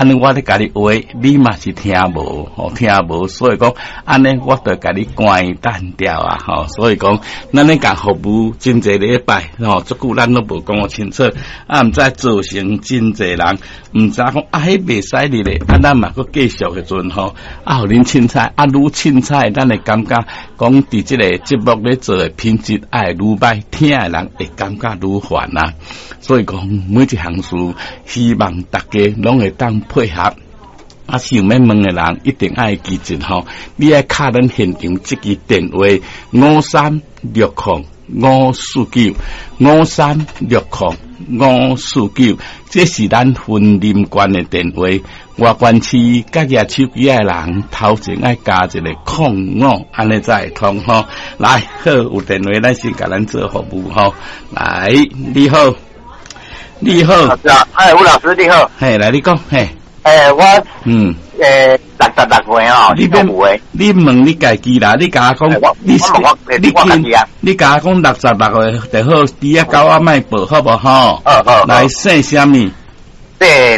按呢我咧共你話，你嘛是聽無，吼聽無，所以講按呢我就共你關斷掉啊，吼，所以講咱咧共服務真濟禮拜，吼，足久咱攏無講清楚，啊，毋知造成真濟人毋知講啊，彼袂使入咧，啊，咱嘛閣繼續的陣吼，啊，予恁凊彩，啊，愈凊彩，咱會感覺講佇這個節目咧做的品質愛愈歹，聽的人會感覺愈煩啊。所以講每一項事，希望大家攏會當配合。啊，想欲問的人一定愛記住吼，你愛敲咱現場這支電話5360549 5360549，這是咱雲林縣的電話。外縣市佮舉手機的人，頭前愛加一個空五，按呢才會通吼。來，好，有電話咱先共咱做服務吼。來，你好，你好，老師啊，哎，吳老師你好，嘿，來你講，嘿。欸，我66歲哦，你免你問你家己啦，你共我講，你你你共我講66歲就好，豬仔狗仔莫報好無吼？好好。來，姓啥物？姓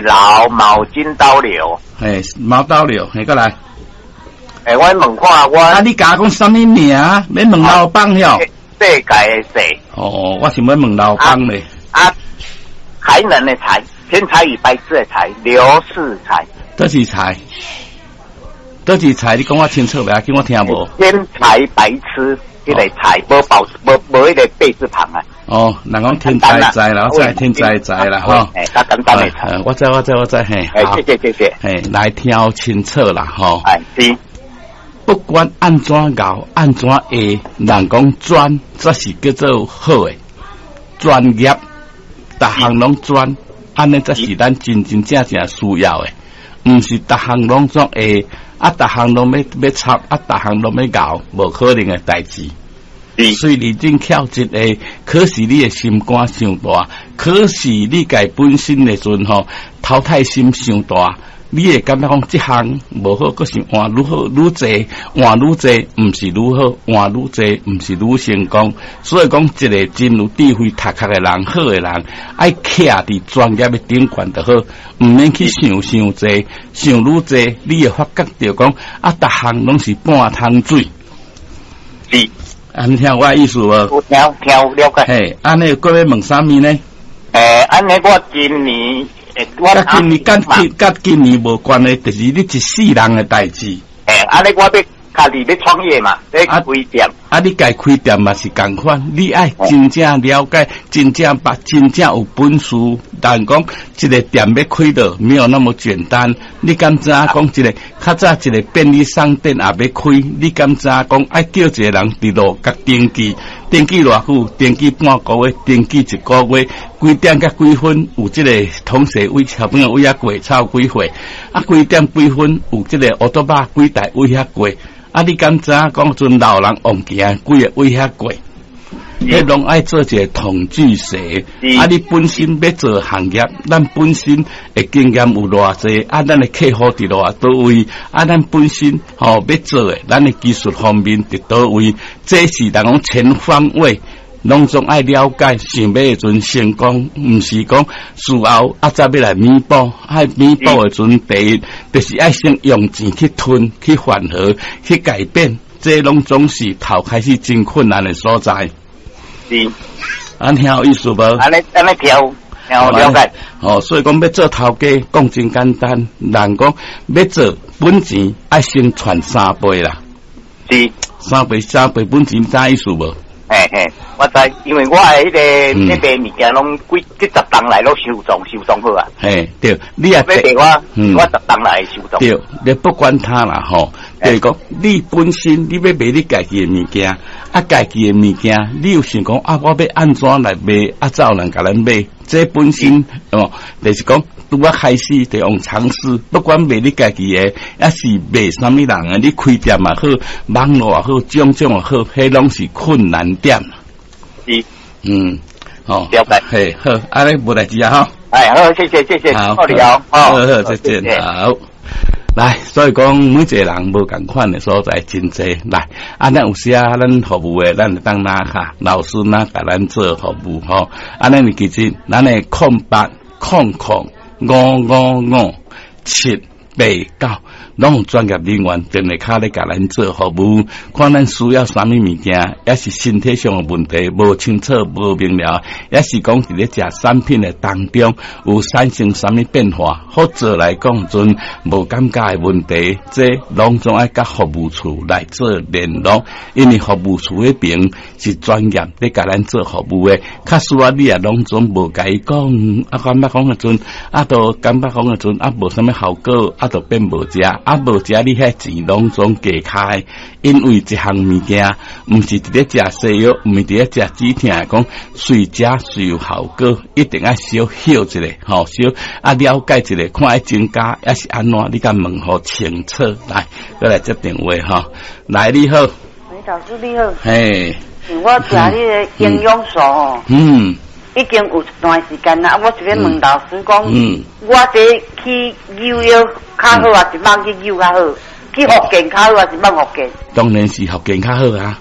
劉，卯金刀劉。嘿，卯刀劉，嘿，閣來。欸，我問看我。啊，你共我講啥物名？欲問老闆喲。世界的世。哦，我想欲問老闆咧。啊，才能的才。天才與白痴的才，劉世才。佗一才？佗一才？你講我清楚袂要緊，我聽無。天才白痴，彼個才無保無無彼個貝字旁啊。哦，人講天才才啦，我知天才才啦，吼。欸，較簡單的才。我知我知我知，嘿。欸，謝謝謝謝。嘿，來聽清楚啦，吼。哎，是。不管按怎𠢕，按怎會，人講專，才是叫做好的專業，逐項攏專。按呢才是咱真真正正需要的，毋是逐項攏總會，啊，逐項攏欲欲插，啊，逐項攏欲𠢕，無可能的代誌。雖然恁巧一個，可是你的心肝傷大，可是你家本身的陣吼，淘汰心傷大。你會感覺講這項無好，閣想換愈好愈濟，換愈濟，毋是愈好，換愈濟，毋是愈成功。所以講，一個真有智慧、讀冊的人，好的人，愛徛佇專業的頂懸就好，毋免去想傷濟，想愈濟，你會發覺著講啊，逐項攏是半桶水。是，啊，你聽我的意思無？有聽聽了解。嘿，按呢閣欲問啥物呢？欸，按呢我今年。佮今年佮今年無關係，就是你一世人的代誌。欸，按呢我欲家己欲創業嘛，欲開店。啊，你家開店嘛是仝款，你愛真正了解，真正捌，真正有本事。但講一個店欲開落，沒有那麼簡單。你敢知影講一個較早一個便利商店也欲開？你敢知影講愛叫一個人佇路共登記？登記偌久？登記半個月，登記一個月，幾點佮幾分有這個同學位小朋友位遐過，才有幾歲？啊，幾點幾分有這個烏托邦幾台位遐過？啊，你敢知影講陣老人往行幾个位遐過？彼攏愛做一個統計學。啊，你本身欲做行業，咱本身的經驗有偌濟？啊，咱的客戶佇偌佗位？啊，咱本身吼欲做的，咱的技術方面佇佗位？這是人講全方位，攏總愛了解，想欲的陣成功，毋是講事後啊才欲來彌補。愛彌補的陣，第一就是愛先用錢去吞、去緩和、去改變，這攏總是頭開始真困難的所在。是，按聽有意思無？按呢按呢聽聽了解。哦，所以講欲做頭家，講真簡單。人講欲做本錢，愛先賺三倍啦。是，三倍三倍本錢，知意思無？嘿嘿，我知，因為我的彼個咧賣物件，攏幾幾十冬來攏收藏收藏好啊。嘿，對，你也欲賣我，我十冬來收藏。對，你不管他啦吼，就是講你本身你欲賣你家己的物件，啊，家己的物件，你有想講啊，我欲按怎來賣，啊，才有人共咱買？這本身哦，就是講拄仔開始就用嘗試，不管賣你家己的，抑是賣啥物人的，你開店也好，網路也好，種種也好，彼攏是困難點。是，哦，了解，嘿，好，按呢無代誌啊，吼。哎，好，謝謝，謝謝，好，好，好，好，再見，好。來，所以講每一個人無仝款的所在真濟。來，啊，咱有時啊，咱服務的，咱會當拿卡老師若共咱做服務吼。啊，咱會記得，咱的0800 555 7、8、9，攏有專業人員電話卡咧共咱做服務，看咱需要啥物物件，抑是身體上的問題無清楚、無明了，抑是講佇咧食產品的當中有產生啥物變化，或者來講陣無感覺的問題，這攏總愛佮服務處來做聯絡，因為服務處彼邊是專業咧共咱做服務的，較需要你也攏總無共伊講，啊感覺講的陣，啊都感覺講的陣，啊無啥物效果。啊，就變無食，啊無食，你遐錢攏總加開，因為一項物件，毋是佇咧食西藥，毋是佇咧食止痛，講隨食隨有效果，一定愛小歇一下，吼，小啊了解一下，看愛增加抑是按怎，你共問予清楚。來，閣來接電話吼，來你好，喂，老師你好，嘿，我食彼个營養素吼，已經有一段時間啦，我這邊問老師講，我這去扭腰較好，還是蠓去扭較好？去復健較好，還是蠓復健？當然是復健較好啊！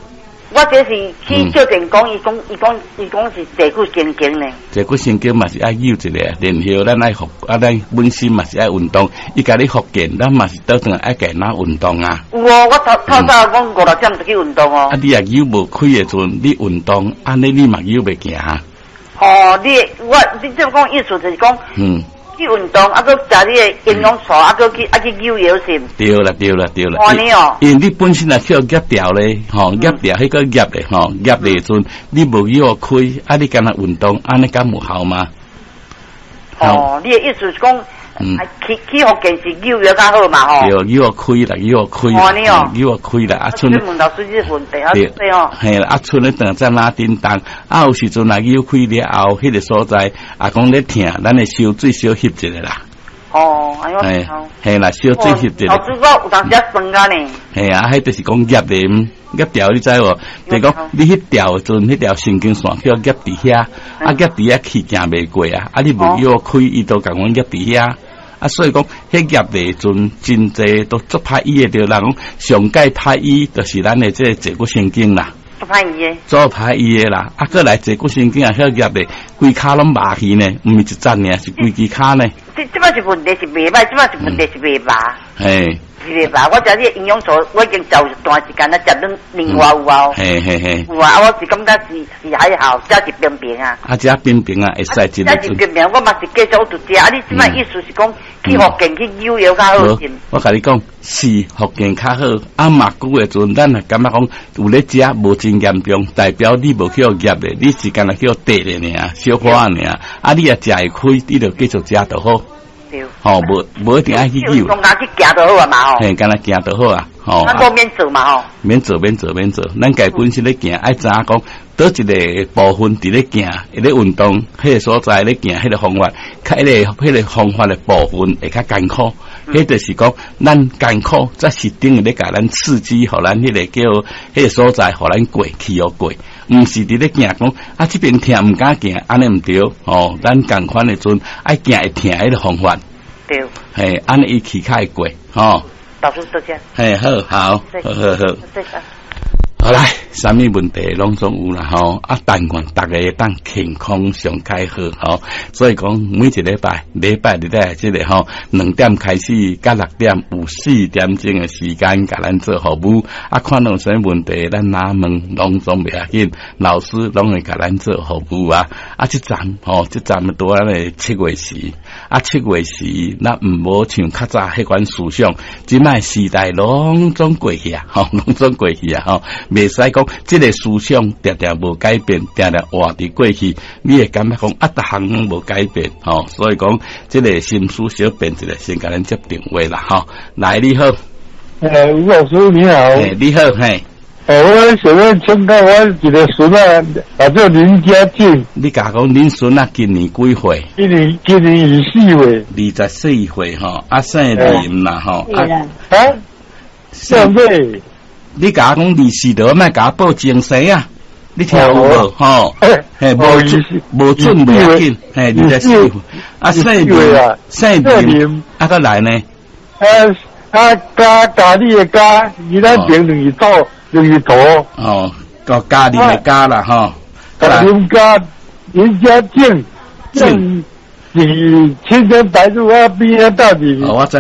我這是去照電講，伊講是坐骨神經呢。坐骨神經嘛是愛扭一下，然後咱愛復啊，咱本身嘛是愛運動。伊共你復健，咱嘛是倒轉來愛共咱運動啊。有哦，我頭透早講五六點就去運動哦。啊，你若扭無開的時陣，你運動，按呢你嘛扭袂行。哦，你我你這講意思就是講，去運動，啊，閣食你的營養素，啊，閣去啊去扭腰是？對啦，對啦，對啦。按呢哦。因為你本身若去予夾掉咧，吼，夾掉彼個夾咧，吼，夾咧時陣，你無扭開，啊，你干焦運動，按呢敢有效嗎？哦，你的意思是講，去復健是扭腰較好嘛？吼。對，扭開啦，扭開，扭開啦，啊，賰。問老師這個問題啊，對哦。嘿啦，啊，賰咧當在哪叮當，啊，有時陣若扭開了後，彼個所在，啊，講咧疼，咱會燒水小翕一下啦。哦，哎喲，嘿啦，燒水翕一下。老師，我有當時酸啊呢。嘿啊，彼就是講夾的，夾掉你知無？就是講你彼條陣，彼條神經線去夾佇遐，啊夾佇遐氣行袂過啊，啊你無藥開，伊都共阮夾佇遐。啊，所以講，彼夾的陣真濟都足歹醫的，著人講上蓋歹醫，就是咱的這個坐骨神經啦。足歹醫的。足歹醫的啦，啊，閣來坐骨神經啊，遐夾的，規跤攏麻去呢，毋是一節爾，是規支跤呢。這這擺是問題是袂歹，這擺是問題是袂麻。嘿。是袂麻，我食這個營養素，我已經食有一段時間啦，食兩年外有啊。嘿嘿嘿。有啊，啊，我是感覺是是還好，食是平平啊。啊，食平平啊，會使一個。食是平平，我嘛是繼續有食。啊，你這擺意思是講去復健去扭腰較好是？我共你講，是復健較好。啊，麻久的時陣，咱若感覺講有咧食無真嚴重，代表你無去予夾的，你是干焦去予綴的爾，小可爾。啊，你若食會開，你就繼續食就好。吼，無無一定愛去扭。講去行就好啊嘛吼。嘿，干焦行就好啊，吼。咱無免做嘛吼。免做，免做，免做。咱家本身咧行，愛知影講，佗一個部分佇咧行，咧運動，彼個所在咧行，彼個方法，較彼個彼個方法的部分會較艱苦。彼就是講，咱艱苦，才是等於咧共咱刺激，予咱彼個叫彼個所在，予咱過去予過。毋是佇咧行講，啊，這邊疼毋敢行，按呢毋對，吼，咱仝款的陣愛行會疼彼個方法。對。嘿，按呢伊氣較會過，吼。老師多謝。嘿，好，好，好好好。好來，啥物問題攏總有啦吼，啊，但願逐个會當健康上較好吼。所以講每一禮拜，禮拜日咧這個吼，2點開始到6點有4點鐘的時間，共咱做服務。啊，看到有啥物問題，咱哪問攏總袂要緊，老師攏會共咱做服務啊。啊，這站吼，這站拄咱的七月時，啊，七月時，咱毋好像較早彼款思想，這擺時代攏總過去啊，吼，攏總過去啊，吼。袂使講這個思想定定無改變，定定活佇過去，你會感覺講啊，逐項攏無改變，吼，所以講這個心思小變一下，先共咱接電話啦，吼，來你好，吳老師你好，你好，嘿，我想欲請教我一個孫仔，叫做林家俊，你共講恁孫仔今年幾歲？今年24歲， 24歲吼，啊姓林啦吼，啊，姓咩？你共我講24就莫共我報精神啊！你聽有無？吼，嘿，無準無準袂要緊，嘿，24歲，啊，姓林，姓林，啊，閣來呢？啊啊，嘉嘉你的嘉，伊咱頂兩字土，兩字土。哦，個嘉林的嘉啦，吼。林家林家正正，是青天白日啊，邊啊到底？哦，我知。